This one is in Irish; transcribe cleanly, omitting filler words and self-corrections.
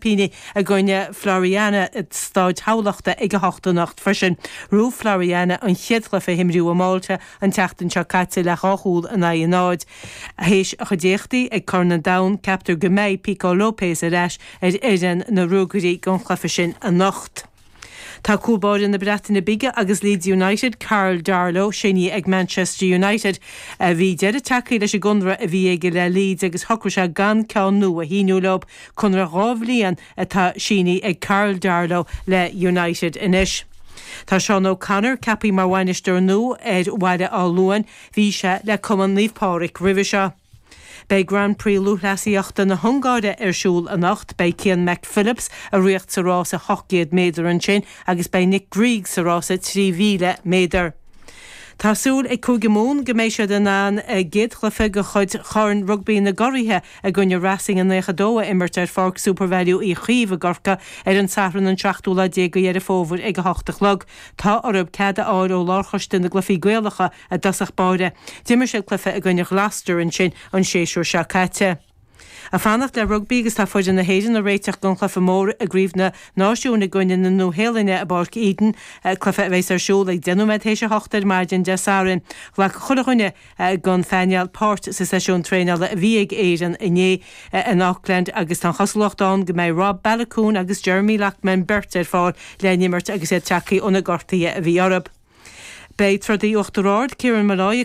seaimpíní i gcoinne Floriana i Stáid Thamhlachta ag a hocht anocht freisin. Ghnóthaigh Floriana an chéad chluiche a himríodh i Malta an tseachtain seo caite le 2 chúl in aghaidh a 0. Théis a chuid éachtaí ag Corn an Domhain, ceaptar go mbeidh Pico Lopes ar ais ar fhoireann na Ruagairí don chluiche sin anocht. Tá cúl báire na Breataine Bige agus Leeds United, Karl Darlow, sínithe ag Manchester United. Bhí deireadh tagtha leis an gconradh a bhí aige le Leeds agus shocraigh sé gan ceann nua a shíniú leo. Conradh 2 bhliain atá sínithe ag Karl Darlow le United anois. Tá Seán O'Connor ceaptha mar bhainisteoir nua ar Bhaile Átha Luain. Bhí sé le Cumann Naomh Pádraig roimhe seo. Beidh Grand Prix Lúthchleasaíochta na hUngáire ar siúl anocht. Beidh Cian McPhillips ag ritheacht sa rása 800 méadar ansin agus beidh Nick Grieg sa rása 3,000 méadar. Tá súil ag Cúige Mumhan go mbeidh siad in ann a gcéad chluiche de chuid Chorn Rugbaí na gCuraithe i gcoinne Racing 92 a imirt ar Pháirc Supervalu Uí Chaoimh i gCorcaigh ar an Satharn an seachtú lá déag de Dheireadh Fómhair ag 8 a chlog. Tá orthu cead a fháil ó Lárchoiste na gCluichí Gaelacha i dtosach báire. D'imir siad cluiche i gcoinne Ghloucester ansin an séasúr seo caite. Ag fanacht le rugbaí agus tá foireann na hÉireann ag réiteach don chluiche mór i gCraobh na Náisiún i gcoinne na Nua-Shéalainne i bPáirc Eden, cluiche a bheas ar siúl ag 10 nóiméad théis a hocht ar maidin Dé Sathairn. Ghlac chuile dhuine den phainéal páirt sa seisiún traenála a bhí ag Éirinn inné in Auckland agus tá an chosúlacht ann go mbeidh Rob Baloucoune agus Jeremy Loughman beirt ar fáil le n-imirt agus iad tagtha ó na gortuithe a bhí orthu. Beidh trodaí Uachtar Ard, Kieran Molloy, ag.